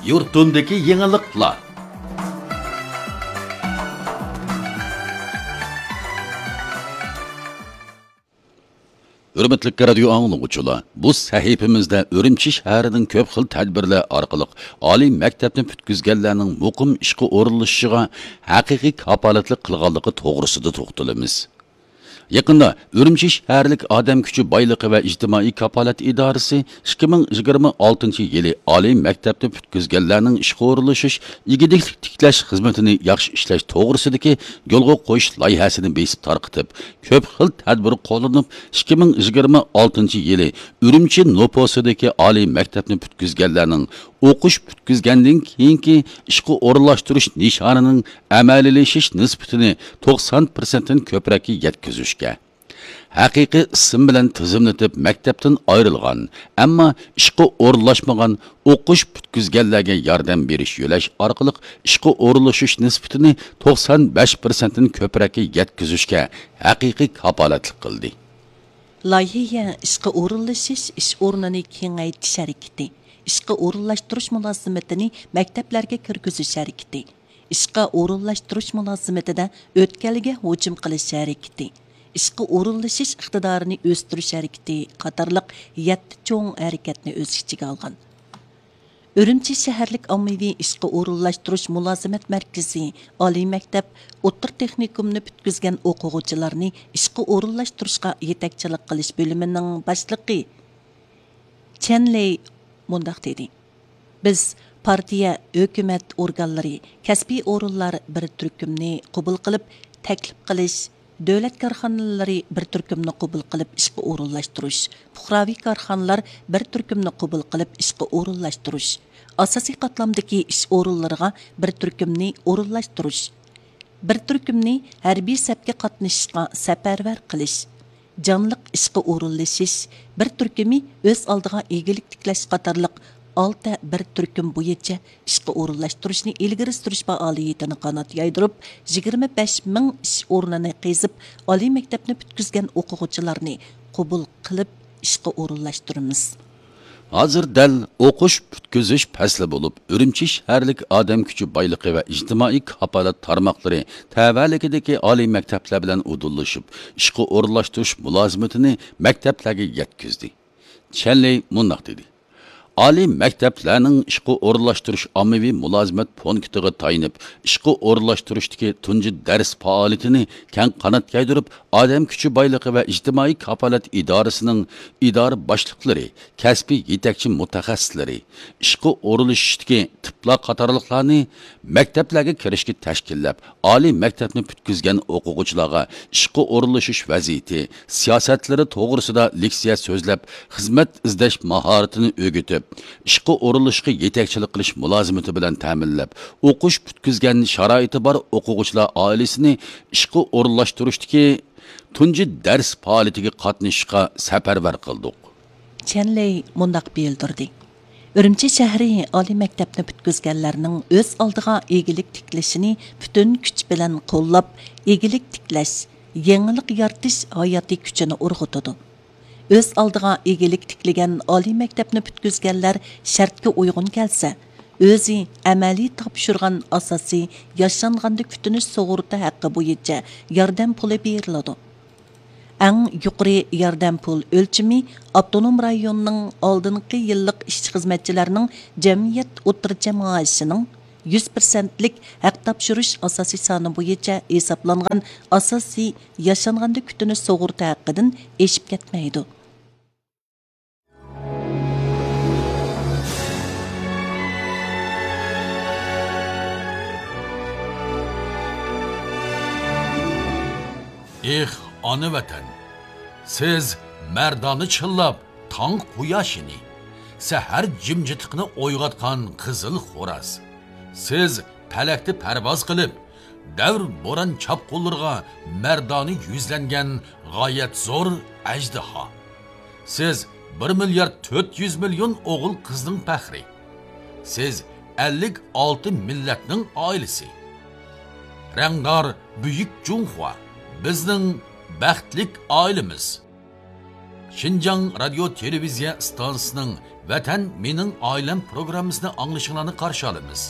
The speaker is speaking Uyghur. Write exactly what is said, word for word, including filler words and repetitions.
يۇرتۇمدىكى يېڭىلىقلار. ھۆرمەتلىك رادىيو ئاڭلىغۇچىلار، بۇ سەھىپىمىزدە ئۈرۈمچى شەھىرىنىڭ كۆپ خىل تەدبىرلەر ئارقىلىق ئالىي مەكتەپنى پۈتكۈزگەنلەرنىڭ مۇقىم ئىشقا ئورۇنلىشىشىغا ھەقىقىي كاپالەتلىك قىلغانلىقى توغرىسىدا توختىلىمىز. يېقىندا ئۈرۈمچى شەھەرلىك ئادەم كۈچى بايلىقى ۋە ئىجتىمائىي كاپالەت ئىدارىسى ئىككى مىڭ يىگىرمە ئالتىنچى يىلى ئالىي مەكتەپنى پۈتكۈزگەنلەرنىڭ ئىشقا ئورۇنلىشىش، ئىگىلىك تىكلەش خىزمىتىنى ياخشى ئىشلەش توغرىسىدىكى يولغا قويۇش لايىھەسىنى بېسىپ تارقىتىپ، كۆپ خىل تەدبىر قوللىنىپ، ئىككى مىڭ يىگىرمە ئالتىنچى يىلى ئۈرۈمچى نوپۇسىدىكى ئالىي مەكتەپنى پۈتكۈزگەنلەرنىڭ ئوقۇش پۈتكۈزگەندىن كېيىنكى ئىشقا ئورۇنلاشتۇرۇش نىشانىنىڭ ئەمەلىيلىشىش نىسبىتىنى توقسان پىرسەنتتىن كۆپرەككە يەتكۈزۈشكە، ھەقىقىي ئىسىم بىلەن تىزىملىتىپ مەكتەپتىن ئايرىلغان، ئەمما ئىشقا ئورۇنلاشمىغان، ئوقۇش پۈتكۈزگەنلەرگە ياردەم بېرىش يۆلەش ئارقىلىق ئىشقا ئورۇنلىشىش نىسبىتىنى توقسان بەش پىرسەنتتىن كۆپرەككە يەتكۈزۈشكە ھەقىقىي كاپالەتلىك قىلدى. لايىھە ئىشقا ئورۇنلىشىش ئىش ئورنىنى كېڭەيتىش ھەرىكىتى، ئىشقا ئورۇنلاشتۇرۇش مۇلازىمىتىنى مەكتەپلەرگە كىرگۈزۈش ھەرىكىتى، ئىشقا ئورۇنلاشتۇرۇش مۇلازىمىتىدە ئۆتكەلگە ھۇجۇم قىلىش ھەرىكىتى، ئىشقا ئورۇنلىشىش ئىقتىدارىنى ئۆستۈرۈش ھەرىكىتى قاتارلىق يەتتە چوڭ ھەرىكەتنى ئۆز ئىچىگە ئالغان. ئۈرۈمچى شەھەرلىك ئاممىۋى ئىشقا ئورۇنلاشتۇرۇش مۇلازىمەت مەركىزى ئالىي مەكتەپ، ئوتتۇرا تېخنىكومنى پۈتكۈزگەن ئوقۇغۇچىلارنى ئىشقا ئورۇنلاشتۇرۇشقا يېتەكچىلىك قىلىش بۆلۈمىنىڭ باشلىقى چەن لېي مۇنداق دېدى: بىز پارتىيە، ھۆكۈمەت ئورگانلىرى، كەسپىي ئورۇنلار بىر تۈركۈمنى قوبۇل قىلىپ تەكلىپ قىلىش، دۆلەت كارخانىلىرى بىر تۈركۈمنى قوبۇل قىلىپ ئىشقا ئورۇنلاشتۇرۇش، پۇقراۋى كارخانىلار بىر تۈركۈمنى قوبۇل قىلىپ ئىشقا ئورۇنلاشتۇرۇش، ئاساسىي قاتلامدىكى ئىش ئورۇنلىرىغا بىر تۈركۈمنى ئورۇنلاشتۇرۇش، بىر تۈركۈمنى ھەربىي سەپكە قاتنىشىشقا سەپەرۋەر قىلىش، جانلىق ئىشقا ئورۇنلىشىش، بىر تۈركۈمى ئۆز ئالدىغا ئىگىلىك تىكلەش قاتارلىق ئالتە بىر تۈركۈم بويىچە ئىشقا ئورۇنلاشتۇرۇشنى ئىلگىرى سۈرۈش پائالىيىتىنى قانات يايدۇرۇپ، يىگىرمە بەش مىڭ ئىش ئورنىنى قېزىپ، ئالىي مەكتەپنى پۈتكۈزگەن ئوقۇغۇچىلارنى قوبۇل قىلىپ ئىشقا ئورۇنلاشتۇرىمىز. ھازىر دەل ئوقۇش پۈتكۈزۈش پەسلى بولۇپ، ئۈرۈمچى شەھەرلىك ئادەم كۈچى بايلىقى ۋە ئىجتىمائىي كاپالەت تارماقلىرى تەۋەلىكىدىكى ئالىي مەكتەپلەر بىلەن ئۇدۇللىشىپ، ئىشقا ئورۇنلاشتۇرۇش مۇلازىمىتىنى مەكتەپلەرگە يەتكۈزدى. چەن لېي مۇنداق دېدى: ئالىي مەكتەپلەرنىڭ ئىشقا ئورۇنلاشتۇرۇش ئاممىۋى مۇلازىمەت پونكىتىغا تايىنىپ، ئىشقا ئورۇنلاشتۇرۇشتىكى تۇنجى دەرس پائالىيىتىنى كەڭ قانات يايدۇرۇپ، ئادەم كۈچى بايلىقى ۋە ئىجتىمائىي كاپالەت ئىدارىسىنىڭ ئىدارە باشلىقلىرى، كەسپىي يېتەكچى مۇتەخەسسىسلىرى، ئىشقا ئورۇنلىشىشتىكى تىپلار قاتارلىقلارنى مەكتەپلەرگە كىرىشكە تەشكىللەپ، ئالىي مەكتەپنى پۈتكۈزگەن ئوقۇغۇچىلارغا ئىشقا ئورۇنلىشىش ۋەزىيىتى، سىياسەتلىرى توغرىسىدا لېكسىيە سۆزلەپ، خىزمەت ئىزدەش ماھارىتىنى ئۆگىتىپ، ئىشقا ئورۇنلىشىشقا يېتەكچىلىك قىلىش مۇلازىمىتى بىلەن تەمىنلەپ، ئوقۇش پۈتكۈزگەن شارائىتى بار ئوقۇغۇچىلار ئائىلىسىنى ئىشقا ئورۇنلاشتۇرۇشتىكى تۇنجى دەرس پائالىيىتىگە قاتنىشىشقا سەپەرۋەر قىلدۇق. چەن لېي مۇنداق بىلدۈردى: ئۈرۈمچى شەھىرى ئالىي مەكتەپنى پۈتكۈزگەنلەرنىڭ ئۆز ئالدىغا ئىگىلىك تىكلىشىنى پۈتۈن كۈچ بىلەن قوللاپ، ئىگىلىك تىكلەش، يېڭىلىق يارىتىش ھاياتىي كۈچىنى ئۇرغۇتىدۇ. ئۆز ئالدىغا ئىگىلىك تىكلىگەن ئالىي مەكتەپنى پۈتكۈزگەنلەر شەرتكە ئۇيغۇن كەلسە، ئۆزى ئەمەلىي تاپشۇرغان ئاساسىي ياشانغاندا كۈتۈنۈش سۇغۇرتا ھەققى بويىچە ياردەم پۇلى بېرىلىدۇ. ئەڭ يۇقىرى ياردەم پۇل ئۆلچىمى ئاپتونوم رايوننىڭ ئالدىنقى يىللىق ئىشچى-خىزمەتچىلەرنىڭ جەمئىيەت ئوتتۇرىچە مائاشىنىڭ يۈز پىرسەنتلىك ھەق تاپشۇرۇش ئاساسىي سانى بويىچە ھېسابلانغان ئاساسىي ياشانغاندا كۈتۈنۈش سۇغۇرتا ھەققىدىن ئېشىپ كەتمەيدۇ. ئېھ، ئانا ۋەتەن! سىز مەردانە چىللاپ تاڭ قۇياشىنى، سەھەر جىمجىتلىقىنى ئويغاتقان قىزىل خوراز. سىز پەلەكتە پەرۋاز قىلىپ، دەۋر بوران چاپقۇنلىرىغا مەردانە يۈزلەنگەن غايەت زور ئەجدىھا. سىز بىر مىليارد تۆت يۈز مىليون ئوغۇل-قىزنىڭ پەخرى. سىز ئەللىك ئالتە مىللەتنىڭ ئائىلىسى. رەڭدار بۈيۈك جۇڭخۇا، بىزنىڭ بەختلىك ئائىلىمىز. شىنجاڭ رادىيو تېلېۋىزىيە ئىستانسىسىنىڭ ۋەتەن مېنىڭ ئائىلەم پروگراممىسىنى ئاڭلىشىڭلارنى قارشى ئالىمىز.